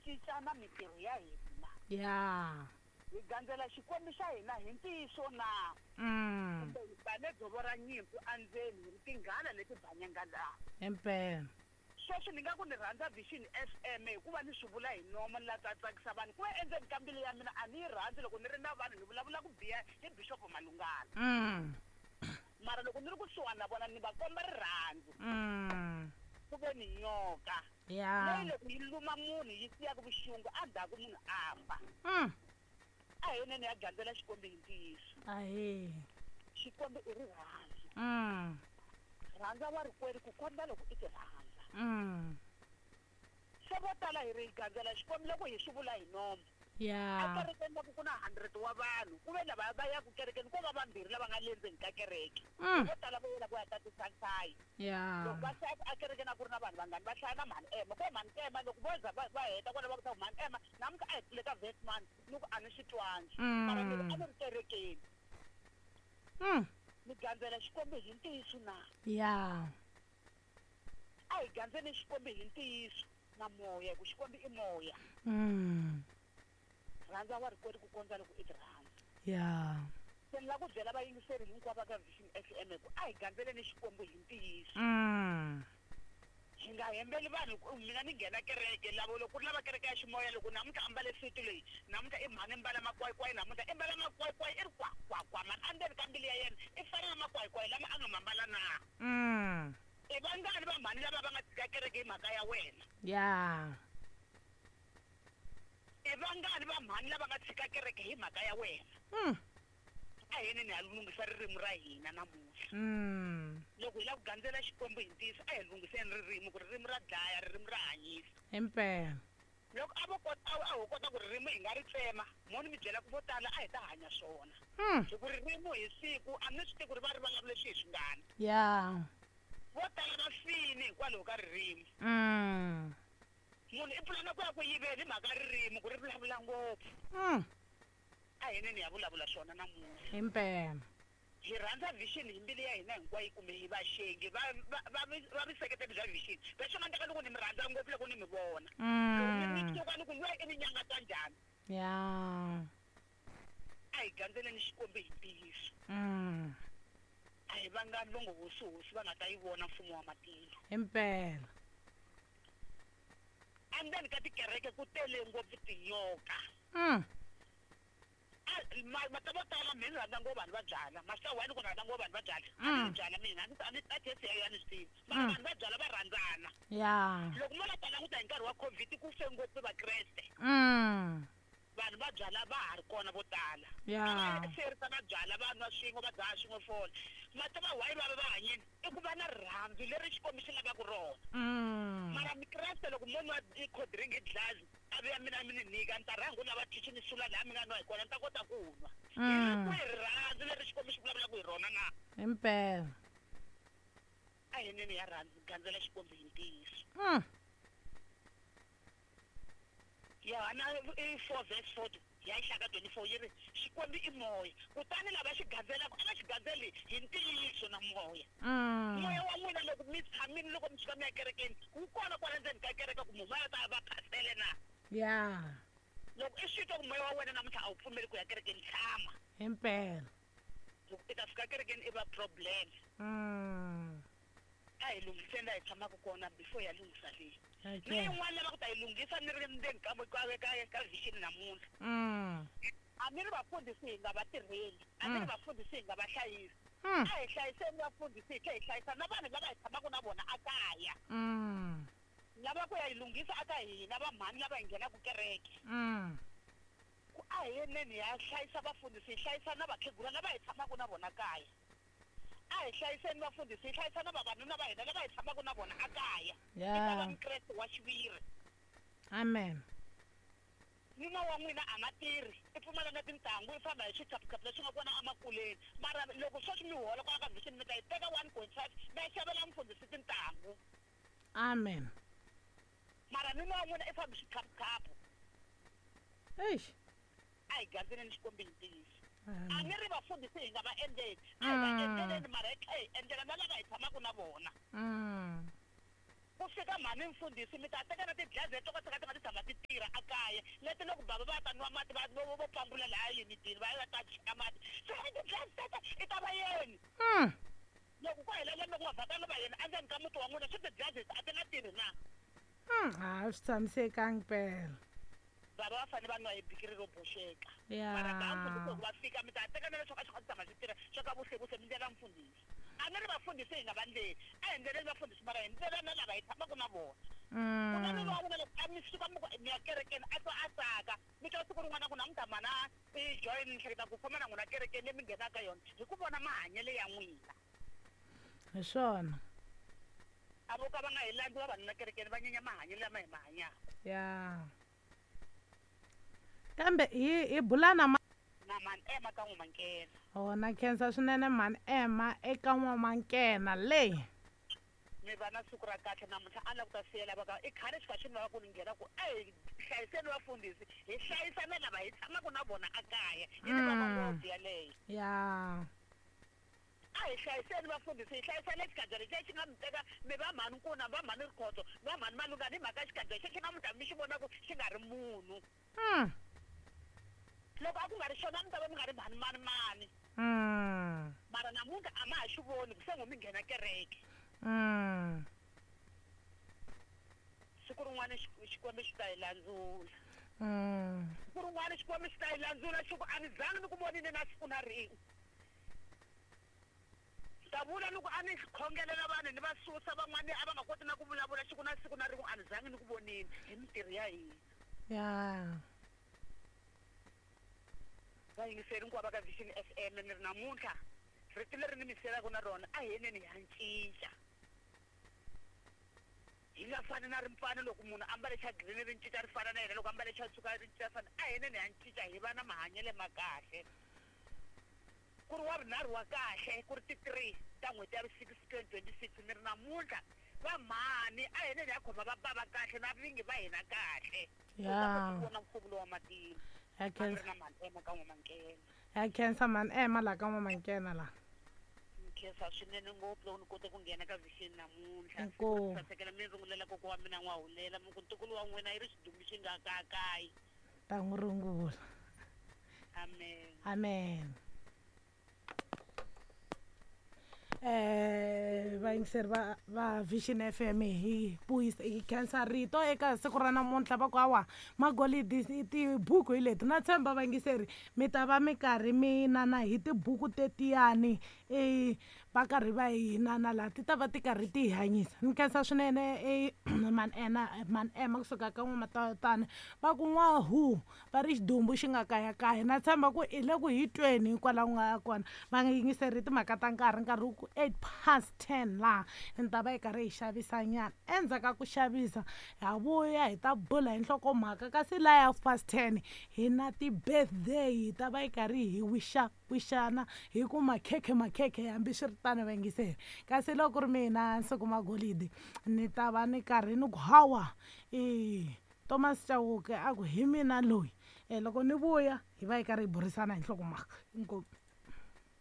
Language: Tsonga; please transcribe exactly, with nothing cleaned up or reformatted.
cinca na mintirho ya hina. Ya. Hi gandzela Xikwembu xa hina hi ntiyiso na? Mm. Kumbe hi bane dzovo ra nyimpfu endzeni hi ri tinghala leti banyangalaka. Impela. Sweswi ni nga ku ni rhandza Vision F M hikuva ni swi vula hi nomo ni la ta tsakisa vanhu. Ku ve endzeni ka mbilu ya mina a ni yi rhandzi loko ni ri na vanhu ni vulavula ku biha hi Bishop Malungana. Mm. Mara loko ni ri kusuhani na vona ni va komba rirhandzu. Mm. Ku ve ni nyoka. Ya. Leyi loko yi luma munhu yi siyaka vuxungu endzhaku munhu a fa. Mm. A hi yinene ya gandzela Xikwembu hi ntiyiso. Ahee. Xikwembu i rirhandzu. Mm. Rhandza wa rikwerhu ku kondza loko i ti rhandza. Mm. Se vo tala hi ri gandzela Xikwembu loko hi swi vula hi nomo. Ya. A kerekeni loko ku na hundred wa vanhu, ku ve lava va ya ku kerekeni ko va vambirhi lava nga le ndzeni ka kereke. Mm. Vo tala vo yela ku ya tatisa nhlayo. Ya. Loko va hlaya a kerekeni a ku ri na vanhu vangani va hlaya na mhani Emma. Ko mhani Emma loko vo za va, va heta kwala va ku ta ku mhani Emma namuntlha a hi pfule ka verse one ni ku a ni swi twangi. Mm. Mara ni ri a ni ri kerekeni. Mm. Ni gandzela Xikwembu hi ntiyiso na? Ya. A hi gandzeni Xikwembu hi ntiyiso na moya, hi ku Xikwembu i moya. Mm. Rhandza wa rikwerhu ku kondza loko i ti rhandza. Ya. Se ni lava ku byela vayingiseri hinkwavo ka Vision F M ku a hi gandzeleni Xikwembu hi ntiyiso. Mm. Hi nga hembeli vanhu ku mina ni nghena kereke lavo loko ku ri lava kereke ya ximoya loko namuntlha a mbale suti leyi, namuntlha i mhani mbala makwaikwai, namuntlha i mbala makwaikwai i ri kwa, kwa, kwa, mani endzeni ka mbilu ya yena i fana na makwaikwai lama a nga ma mbala na. Mm. I vangani va mhani lava va nga tshika kereke hi mhaka ya wena? Ya. I vangani va mhani lava nga tshika kereke hi mhaka ya wena? Mm. A hi yini hi ya lunghisa ririmi ra hina namuntlha. Mm. Loko hi lava ku gandzela Xikwembu hi ntiyiso, a hi lunghiseni ririmi ku ririmi ra dlaya, ririmi ra hanyisa. Impela. Loko a vo kota, a ho kota ku ririmi hi nga ri tsema, mo ni mi byela ku vo tala a hi ta hanya swona. Mm. Hi ku ririmi hi siku, a ni swi tivi ku ri va ri vulavule swihi swingani. Ya. Vo tala va fini hikwalaho ka ririmi. Mm. Munhu i pulana ku ya ku yiveni hi mhaka ririmi ku ri vulavula ngopfu. Mm. A hi yinene ya vulavula swona namuntlha. Impela. Hi rhandza Vision hi mbilu ya hina hinkwayo kumbe hi vaxengi va, va, va, va vuseketeri bya Vision. Leswi nga endleka loko ni mi rhandza ngopfu loko ni mi vona. Loko ni mi Mm. tsuka ni ku lwa i ni nyanga ta njhani? Ya. A hi gandzeleni Xikwembu hi ntiyiso. Mm. A hi vangani vo ngo hosi hosi va nga ta yi vona mfumo wa matilo. Impela. Endzeni ka tikereke ku tele ngopfu tinyoka. Mm. A, ma, ma ta vo tala mina ni rhandza ngopfu vanhu va byala. Masiku lawa ni ku rhandza ngopfu vanhu va byala. A ni Mm. byala mina, a ni, a ni, a test ya yona ni swi tivi. Mara Mm. vanhu va byala va rhandzana. Ya. Loko mo la ta languta hi nkarhi wa COVID ku fe ngopfu Vakreste. Mm. Vanhu va byala va ha ri kona vo tala. Ya. A va serisa va byala va nwa swin'we va dzaha swin'we fole. Mati va why va va va hanyeni? I ku va na rirhandzu leri Xikwembu xi lavaka rona. Mm. Mara Mikreste loko mo nwa i cold drink hi dlazi, a vuya mina mi ni nyika, ni ta rhanga u lava tissue ni sula laha mi nga nwa hi kona, ni ta kota ku nwa. Hi ri Mm. kwihi rirhandzu leri Xikwembu xi vulavulaka hi rona na? Impela. A hi neni ya rhandzu, gandzela Xikwembu hi ntiyiso. Mm. Yohana i four verse four ya yi hlaya ka twenty-four yi ri Xikwembu i moya, kutani lava xi gandzelaka a va xi gandzeli hi ntiyiso na moya. Mm. Moya wa n'wina loko mi tshamile loko mi fika mi ya kerekeni wu kona kwala ndzeni ka kereke ku munhu a ta va phasele na? Ya. Loko i swi twa ku moya wa wena namuntlha a wu pfumeli ku ya kerekeni, tshama. Impela. Loko i ta fika kerekeni i va problem. Mm. A hi lunghiseni laha hi tshamaka kona before ya lunghisa leyi. Okay. Ni yin'wana lava ku ta yi lunghisa ni ri ndzeni ka ka, ka, ka Vision namuntlha. Mm. A ni ri vafundhisi hi nga va tirheli, a ni ri Mm. vafundhisi hi nga va hlayisi. Mm. A hi hlayiseni vafundhisi hi tlhela hi hlayisa na vanhu lava hi tshamaka na vona ekaya. Mm. Lava ku ya yi lunghisa eka hina va mhani lava hi nghenaka kereke. Mm. Ku a hi yeneni ya hlayisa vafundhisi, hi hlayisa na vakhegula lava hi tshamaka na vona kaya. A hi hlayiseni vafundhisi, hi hlayisa na vavanuna va hina lava hi tshamaka na vona ekaya. Ya. I ta va Mukreste wa xiviri. Amen. Nuna wa n'wina a nga tirhi, i pfumala na tintangu, i famba hi switshaphutshapu leswi nga kona emakuleni. Mara loko sweswi mi hola kwala ka Vision mi ta yi teka one point five mi ya xavela mufundhisi tintangu. Amen. Mara nuna wa n'wina i famba hi switshaphutshapu. Eish. A hi gandzeleni Xikwembu hi ntiyiso. Amen. A ni ri vafundhisi hi nga va endleli, a hi va Mm. endleleni mara hi tlhela hi endlela na lava hi tshamaka na vona. Mm. Ku fika mhani mfundhisi mi ta teka na tidlazi leto ka ti nga ti tshama ti tirha a kaya leti loko bava va ta nwa mati va vo vo pambula laha yunitini va ya ta cheka mati se i ti-drugs tete i ta va yeni Mm. loko ku hela lembe ku nga vhakanga va yena endzeni ka muti wa n'wina swi ti-drugs a ti nga tirhi na Mm. A swi tshamisekangi mpela. Bava va fanele va nwa hi bikiri ro boxeka. Ya. Mara ba mfundhisi loko va fika mi ta teka na leswaku a swi kha swi tshama swi tirha swa ka vuhlekuse mi ndlela mfundhisi a ni ri vafundhisi hi nga va ndleli a hi ndleleni vafundhisi mara hi ndlela na lava hi tshamaka na vona ku na Mm. nuna wa n'wina loko a mi suka mi ku mi ya kerekeni a twa a tsaka mi twa siku rin'wana ku namuntlha mana i join ni hleketa ku famba na n'wina kerekeni leyi mi nghenaka yona hi ku vona mahanyelo ya n'wina. Hi swona. A vo ka va nga hi landzi vavanuna kerekeni va nyenya mahanyelo lama hi ma hanyaka. Ya. Kambe hi hi bula na ma Na mani Emma ka N'wamankena. Oh, na khensa swinene mhani Emma eka N'wamankena leyi. Mi va na siku ra kahle namuntlha a ni lava ku ta siyela va ka i khale xi kha xi ni lava ku ni nghena ku a hi hlayiseni vafundhisi hi hlayisa na lava hi tshamaka na vona a kaya yi ni vava Mm. ngopfu yaleyo. Ya. A hi hlayiseni vafundhisi hi hlayisa na xikadya lexiya xi nga mi teka mi va mhani Nkuna va mhani Rikhotso va mhani Malungana hi mhaka ya xikadya xexo namuntlha mi xi vonaku xi nga ri munhu. Mm. Loko a ku nga ri xona a mi ta va mi nga ri mhani mani mani. Mm. Mara namuntlha a ma ha xi voni ku se ngo mi nghena kereke. Mm. Siku rin'wana Xikwembu xi ta hi landzula. Mm. Siku rin'wana Xikwembu xi ta hi landzula xi ku a ni zangi ni ku vonile na siku na rin'we. Ta vula ni ku a ni khongelela vanhu ni va susa van'wani a va nga koti na ku vulavula xi ku na siku na rin'we a ni zangi ni ku vonile hi mintirho ya hina. Ya. Vayingiseri hinkwavo ka Vision F M ni ri namuntlha rito leri ni mi siyelaka na rona a hi yeneni hi ya cinca. Hi nga fani na rimpfana loko munhu a ambale xa green ri cinca ri fana na yena loko ambale xa tshuka ri cinca fana a hi yeneni hi ya cinca hi va na mahanyelo ma kahle. Ku ri wa vunharhu wa kahle ku ri ti three ta n'hweti ya vu six twenty twenty six ni ri namuntlha va mhani a hi yeneni hi ya khoma va bava kahle na vingi va hina kahle. U ta kota ku Ya. vona mfumo lowu wa matilo. Ya A ni khensa. ri na mhani Emma ka N'wamankena. Ya khensa mhani Emma laha ka N'wamankena laha. Ni khensa swinene ngopfu loko ni kote ku nghena ka Vision namuntlha. Inkomu. Sasekela mi rungulela kokwa wa mina N'wahulela mi ku ntukulu wa n'wina yi ri xidumbu xi nga kakayi. Ta n'wi rungula. Amen. Amen. Eh vayingiseri va va Vision F M hi vuyisa hi khensa rito eka siku ra namuntlha va ku hawa magolidi tibuku hi leti na tshemba vayingiseri mi ta va mi karhi mi nana hi tibuku tetiyani eh va karhi va hi nana laha ti ta va ti karhi ti hi hanyisa ni khensa swinene e mhani Ena mhani Emma kusuka ka N'wamatana va ku n'wahu va ri xidumbu xi nga kayakaya na tshemba ku i le ku hi tweni kwalaho nga kona va nga yingiseri timhaka ta nkarhi nkarhi wu ku eight past ten laha ni ta va hi karhi hi xavisa nyana endzhaku ka ku xavisa ha vuya hi ta bula hi nhlokomhaka kasi laya half past ten hi na ti-birthday hi ta va hi karhi hi wixa wixana hi ku makhekhe makhekhe hambi swi ri tano vayingiseri kasi loko ku ri mina Nsuku Magolidi ni ta va ni karhi ni ku hawa i Thomas Chauke a ku hi mina loyi e loko ni vuya hi va hi karhi hi burisana hi nhlokomhaka inkomu.